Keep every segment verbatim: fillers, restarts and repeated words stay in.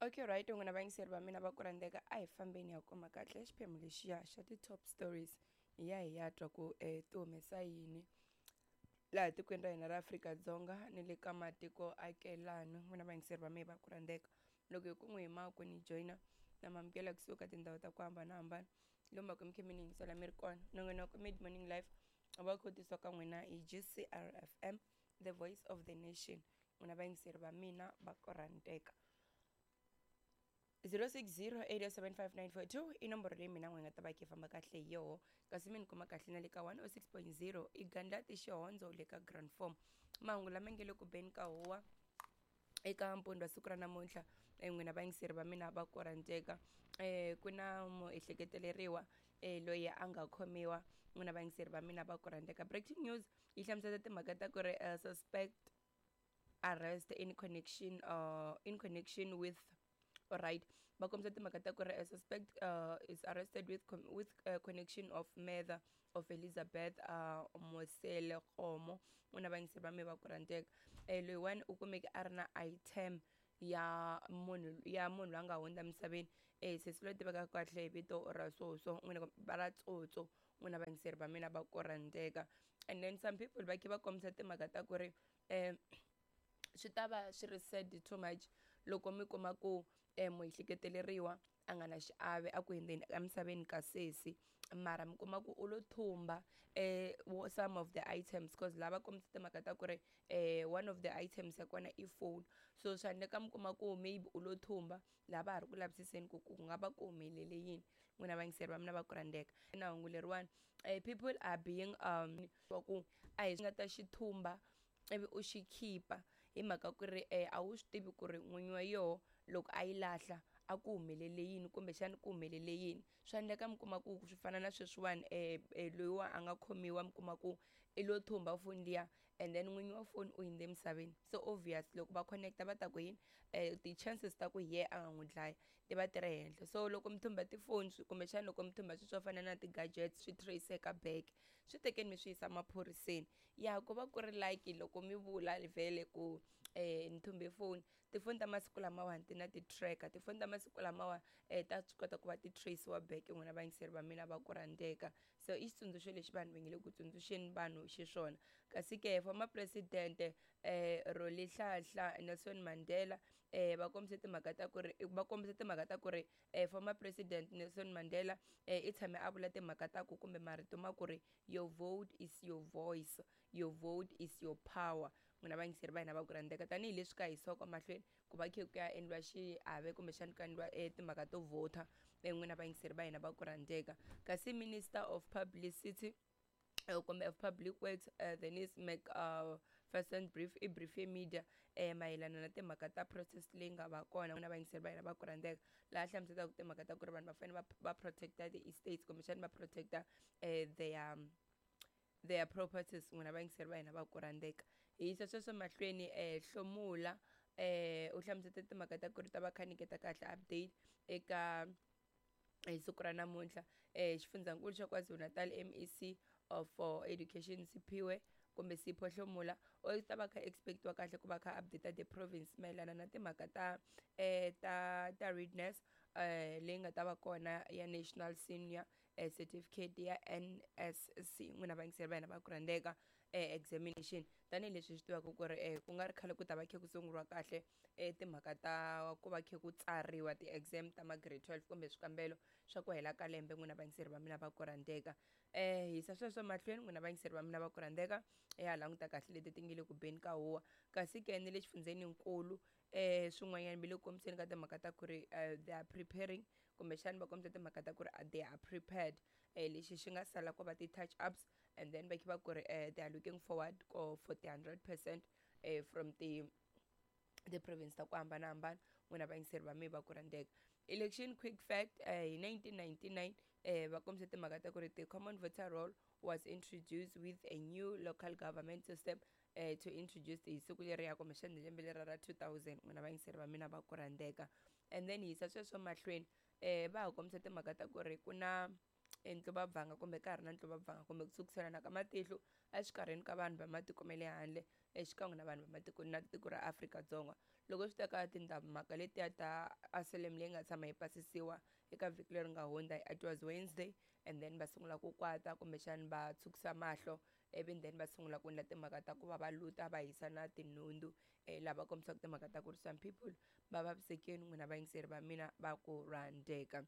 Okay, right, n'wina vayingiseri va mina va ku rhandzeka, a hi fambeni ya kuma kahle xiphemu lexiya xa ti-top stories, hi ya hi ya twa ku um ti humesa yini laha tikweni ra hina ra Afrika-Dzonga ni le ka matiko akelani. N'wina vayingiseri va mina va ku rhandzeka, loko hi ku n'wi hi maku ni joyina na mamukela kusuka tindhawu ta ku hambanahambana lomu va ku mi khe mi ni yingisela mi ri kona. Nongonoko Mid Morning Life va kho tisiwa ka n'wina hi G C R F M, the voice of the nation. N'wina vayingiseri va mina va ku rhandzeka, zero six zero eight seven five nine four two i nomboro leyi mina n'we nga ta va khe famba kahle hi yoho, kasi mi ni kuma kahle na le ka one oh six point zero i Gandlati Xihondzo le ka Grand Form. Mahungu lama nge le ku beni ka huwa eka mpundzu wa siku ra namuntlha, eh, n'wina vayingiseri va mina va ku rhandzeka, um ku na muehleketeleriwa um loyi a nga khomiwa. N'wina vayingiseri va mina va ku rhandzeka, breaking news yi hlamusela timhaka ta ku ri uh, suspect arrest in connection uh, in connection with, alright, va kombisa timhaka ta ku ri a suspect uh, is arrested with com with uh, connection of murder of Elizabeth uh, Mosele Komo. N'wina vayingiseri va mi va ku rhandzeka, um loyiwani u kumeke a ri na item ya munhu ya munhu loyi a nga hundza emisaveni, um sesi loyi tivekaka kahle hi vito ra Soso, n'wina va ra Tsotso. N'wina vayingiseri va mina va ku rhandzeka, and then some people va khe va kombisa timhaka ta ku ri um swi ta va swi ri sad too much loko mi kuma ku um muehleketeleriwa a nga na xiave a ku hundzeni emisaveni ka sesi, mara mi kuma ku u lo thumba um some of the items, cause lava kombisa timhaka ta ku ri um one of the items ya kona i phone. So swa endleka mi kuma ku maybe u lo thumba laha va ha ri ku lavisiseni ku ku nga va ku humelele yini. N'wina vayingiseri va mina va ku rhandzeka, na hungu leriwani, um people are being um wa ku a hi nga ta xi thumba ivi u xi khipa hi mhaka ku ri um a wu swi tivi ku ri n'winyi wa yoho loko a yi lahla a ku humelele yini, kumbexani ku humelele yini. Swa endleka mi kuma ku swi fana na sweswiwani, um loyiwa a nga khomiwa, mi kuma ku i lo thumba foni liya and then n'winyi wa foni u hundze emisaveni. So obvious loko va connecta va ta ku yini, um ti-chances ta ku hi yena a nga n'wi dlaya ti va ti ri henhla. So loko mi thumba tifoni, kumbexana loko mi thumba swilo swo fana na ti-gadgets, swi trace-eka back, swi tekeni mi swi yisa maphoriseni ya ku va ku ri like loko mi vula vhele ku um ni thumbe foni. Tifoni ta masiku lamawani ti na ti-tracker, tifoni ta masiku lamawa um ta swi kota ku va ti trace-iwa back. N'wina vayingiseri va mina va ku rhandzeka, so i xitsundzuxo lexi vanhu va nge le ku tsundzuxeni vanhu xiswona. Kasi ke former president um Rolihlahla Nelson Mandela, um va kombise timhaka ta ku ri va kombise timhaka ta ku ri um former president Nelson Mandela um i tshame a vula timhaka ta ku kumbe marito ma ku ri "Your vote is your voice, your vote is your power." N'wina vayingiseri va hina va ku rhandzeka, tanihileswi ka hisiwaka mahlweni ku va khe ku ya endliwa xiave kumbexani ku endliwa um timhaka to vhota, n'wina vayingiseri va hina va ku rhandzeka. Kasi minister of publicity uh, kumbe of public works, uh, Denis McPherson, uh, brief i brief media eh mayelana na timhaka ta protest leyi nga va kona. Na vayingiseri va hina va ku rhandzeka, laha hlamuselaka timhaka ta ku ri vanhu va fanele va va protecta the estates kumbexani va protecta eh, their their properties. N'wina vayingiseri va hina va ku rhandzeka, hi yisa sweswo mahlweni. eh hlomula eh u hlamusete timhaka ta ku ri ta va kha nyiketa kahle update eka hi siku ra namuntlha. eh xifundzankulu xa KwaZulu-Natal M E C of for Education, Siphiwe kumbe Sipho Hlomula, u ta va kha expectiwa kahle ku va kha update the province mayelana na timhaka ta eh ta ta readiness eh leyi nga ta va kona ya National Senior eh, Certificate ya N S C. N'wina vayingiseri va hina va ku rhandzeka, eh, examination, tanihileswi swi tivaka ku ri eh, ku nga ri khale ku ta va khe ku sunguriwa kahle eh, timhaka ta ku va khe ku tsariwa ti-exam ta ma grade twelve kumbe swikambelo swa ku hela ka lembe. N'wina vayingiseri va mina va ku rhandzeka, eh hisa sweswo mahlweni. N'wina vayingiseri va mina va ku rhandzeka, ya languta kahle leti ti nge le ku beni ka huwa. Kasi ke ni le xifundzeninkulu, eh swin'wanyana mi le ku kombiseni ka timhaka ta ku ri uh, they are preparing, kumbexani va kombisa timhaka ta ku ri they are prepared, eh lexi xi nga sala ku va ti-touch ups and then va khe va ku ri eh, they are looking forward ko for the hundred percent eh, from the the province ta ku hambanahambana. N'wina vayingiseri va mi va ku rhandzeka, election quick fact, eh, hi nineteen ninety-nine eh, va kombisa timhaka ta ku ri the common voter roll was introduced with a new local government system eh, to introduce hi siku leriya kumbexani lembe lera ra two thousand. N'wina vayingiseri va mina va ku rhandzeka, and then hi yisa sweswo mahlweni, eh, va ha kombisa timhaka ta ku ri ku na ntluvabvanga kumbe ka ha ri na ntluvabvanga kumbe ku sukiselana ka matihlo exikarhini ka vanhu va matiko ma le handle exikan'we na vanhu va matiko na tiko ra Afrika-Dzonga. Loko swi ta ka timhaka letiya ta asylum leyi nga tshama yi pasisiwa eka vhiki leri nga hundza, it was Wednesday, and then va sungula ku kwata kumbexani va tshukisa mahlo, ivi then va sungula ku endla timhaka ta ku va va luta, va hisa na tinhundzu, um lava kombisaka timhaka ta ku ri some people va vavisekile. N'wina vayingiseri va mina va ku rhandzeka,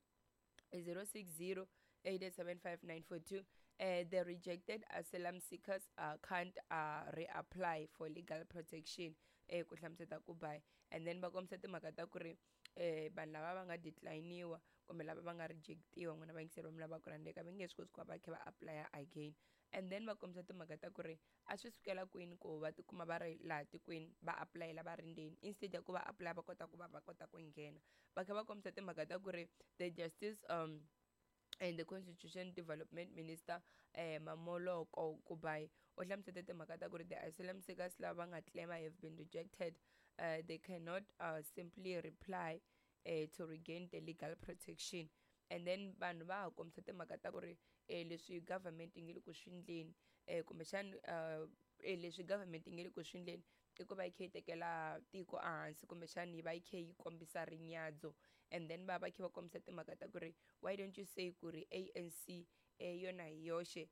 zero six zero eight seven five nine four two. Uh, the rejected asylum seekers uh, can't uh, reapply for legal protection, eh ku hlamuseta ku bai. And then va kombisa timhaka ta ku ri eh vanhu lava va nga decliniwa kumbe lava va nga rejectiwa, n'wina vayingiseri va mina va ku rhandzeka, va nge swi koti ku va va kha va apply again. And then va kombisa timhaka ta ku ri a swi sukela kwini ku va tikuma va ri laha tikweni, va apulayela va ri ndzeni instead ya ku va apply va kota ku va va kota ku nghena. Va kha va kombisa timhaka ta ku ri the Justice um and the Constitution Development Minister, eh Mamoloko Kubayi, u hlamusete timhaka ta ku ri the asylum seekers lava nga claim have been rejected, uh, they cannot uh, simply reply uh, to regain the legal protection. And then vanhu va ha kombisa timhaka ta ku ri eh, leswi government yi nge le ku swi endleni, eh, kumbexani uh, eh, leswi government yi nge le ku swi endleni i ku va yi kha yi tekela tiko ehansi, kumbexani yi va yi kha yi kombisa rinyadzo. And then va va kha va kombisa timhaka ta ku ri why don't you say ku ri A N C eh, yona hi yoxe